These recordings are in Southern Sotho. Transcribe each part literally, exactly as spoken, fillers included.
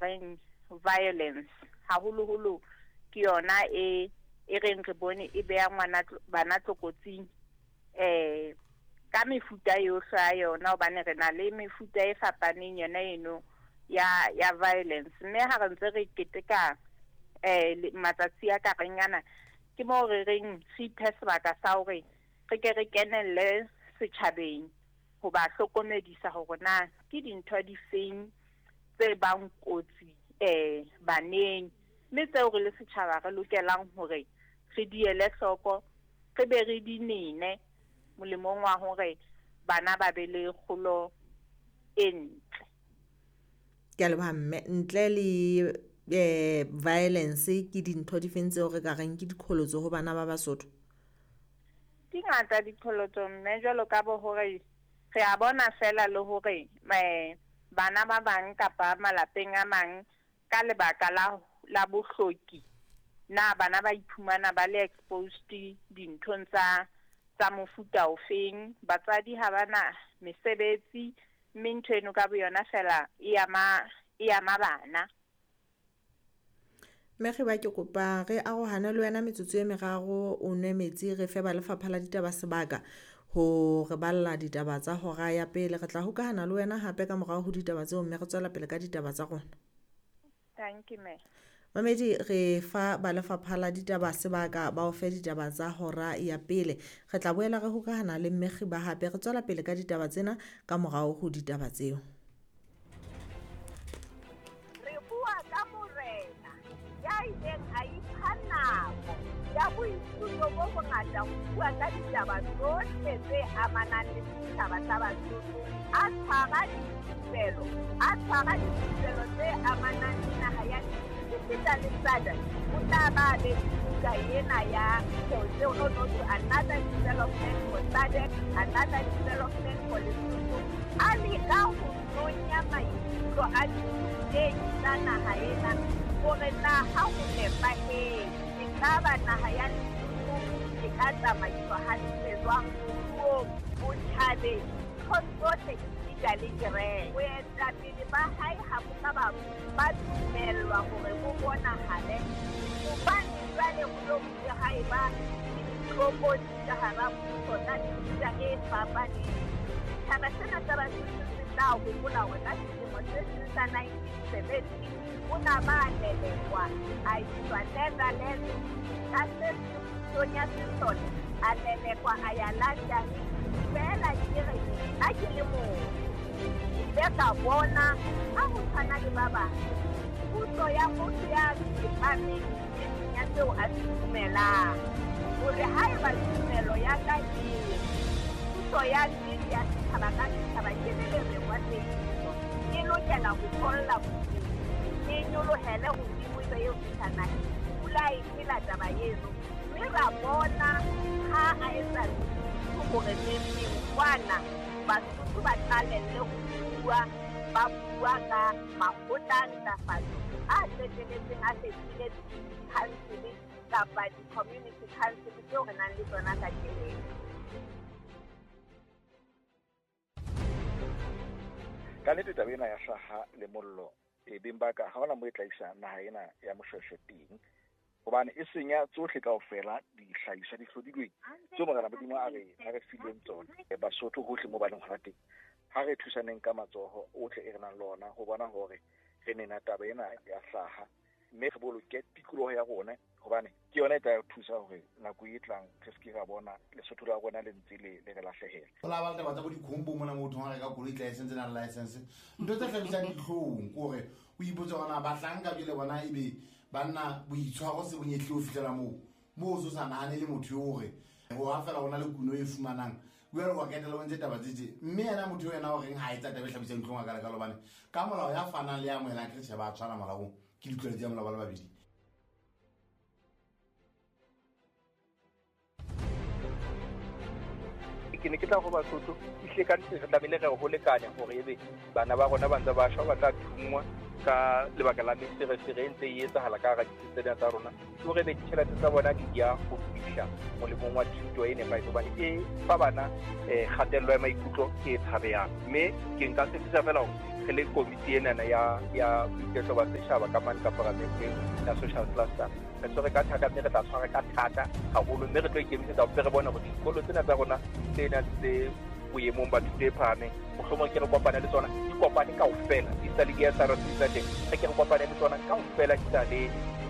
Reng violence haholoholo ke yona e e reng re bone e beha ngwana bana tlokotsing eh ka mefuta yohle ya yona, hobane re na le mefuta e fapaneng yona eno ya ya violence. Mme ha re ntse re keteka eh matsatsi a ka reng ana, ke moo re reng re iphe sebaka sa hore re ke re kenelle setjhabeng ho ba hlokomedisa hore na ke dintho di feng tse bang kotsi eh baneng, mme tseo re le setjhaba re lokelang hore re di ele hloko, re be re di nene molemong wa hore bana ba be le kgolo e ntle. Ke a leboha mme. Ntle le eh violence, ke dintho di feng tseo re ka reng ke diqholotso ho bana ba Basotho? Di ngata diqholotso mme, jwalo ka bo hore re a bona fela le hore eh bana ba bang kapa malapeng a mang ka lebaka la la bohloki, na bana ba iphumana ba le exposed dinthong tsa tsa mofuta ofeng. Batswadi ha bana mesebetsi, mme ntho eno ka boyona fela e ama e ama bana. Mme Khiba, ke kopa re arohane le wena metsotso e meraro, o nwe metsi, re fe ba lefapha la ditaba sebaka ho re balla ditaba tsa hora ya pele. Re tla hokahana le wena hape ka morao ho ditaba tseo, mme re tswela pele ka ditaba tsa rona. Thank you, ma'am. Mamedi, re fa ba lefapha la ditaba sebaka ba o fe ditaba tsa hora ya pele. Re tla boela re hokahana le mme Khiba hape, re tswela pele ka ditaba tsena ka morao ho ditaba tseo. Re bua ka morena ya ileng a ipha nako ya boithuto bo bongata ho bua ka ditaba tsohle tse amanang le setjhaba sa Basotho, a tshwara dithupelo, a tshwara dithupelo tse amanang le naha ya esita le S A D C. O tla ba be buka ena ya no no to another development for S A D C, another development for Lesotho. A leka ho nonya maikutlo a dithutehi tsa naha ena hore na ha ho nepahetse ekaba naha ya Lesotho e ka tsamaiswa hantle jwang moruong, botjhabeng, nthong tsohle esita le kereke. Boetapele ba hae ha bo ka ba ba dumellwa hore bo bonahale, hobane jwale ho lo bile ha eba le ditlokotsi ka hara puso tsa mefuta e fapaneng. Setjhaba sena sa Basotho se tla hopola hore ka selemo se seng sa nineteen seventy o na ba lelekwa a iswa Netherlands, ka se pusong ya sesole a lelekwa a ya London. Feela ke re nna ke le motho, ke ile ka bona ha ho tshwana le ba bang puso ya motho ya tsepameng e seng ya seo a se dumelang, hore haeba tumelo ya ka e puso ya nnete ya setjhaba ka setjhaba ke le lerengwa tsebiso, e lokela ho tholla bophelo, e nyolohele hodimo ebe eo fihla naheng. Pula e phela taba eno, mme ra bona ha a etsa hore neng kwana Basotho ba qalelle ho bua, ba bua ka makgotla a ntlafatso a qetelletseng a fetohile di-council kapa di-community council tseo re nang le tsona kajeno. Ka nnete taba ena ya hlaha le mollo e beng ba ka ha hona moo e tla isa naha ena ya Moshweshwe teng, hobane e senya tsohle kaofela dihlahiswa di hlodilweng tseo Morena Modimo a re a re fileng tsona. Basotho hohle moo ba leng hona teng, ha re thusaneng ka matsoho ohle e re nang le ona ho bona hore re nena taba ena ya hlaha, mme re boloke tikoloho ya rona, hobane ke yona e tla re thusa hore nako e tlang re se ke ra bona Lesotho la rona le ntse le le re lahlehela. Ho la ba le taba tsa bo dikhombo mona motho ha reka koloi license na license, ntho tse hlabisang dihlong ke hore o ipotse hore na bahlanka jwale bona ebe banna boitshwaro se bonyehle ho fihlela moo moo o so sa nahane le motho eo hore ho ha fela hona le kuno e fumanang jwale wa ketela o ntse taba tse tje, mme yena motho ena o reng ha etsa taba e hlabisang dihlong a ka leka hobane ka molao ya fanang le ya amohelang ke tjhe ba tshwana molaong, ke ditlwaelo tsa molao ba le babedi. Ke ne ke tla ho Basotho ehlile ka nnete re tlamehile re ho lekane hore ebe bana ba rona ba ntse ba shwa, ba tla thungwa, Ka lebaka la meferefere e ntse e etsahala ka hara ditsi tsena tsa rona, ke hore ebe ditjhelete tsa bona di ya ho fihla molemong wa thuto e nepahetseng, hobane e fa bana um kgatello ya maikutlo e tshabehang. Mme ke nka tshepisa fela hore re le komiti enana ya ya boiketlo ba setjhaba ka mane ka paramenteng ya social cluster, re tshwere ka thata, mme re tla tshwara ka thata haholo, mme re tlo ikemisetsa hore re bone hore dikolo tsena tsa rona tse nang tse boemong ba thuto e phahameng, mohlomong ke re kopane le tsona, di kopane kaofela, di sa le di-S R C tsa teng, re ke re kopane le tsona kaofela, di sa le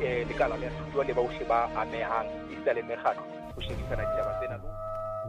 um lekala la thuto le bohle ba amehang, di sa le mekgatlo ho shebisana ditaba tsena.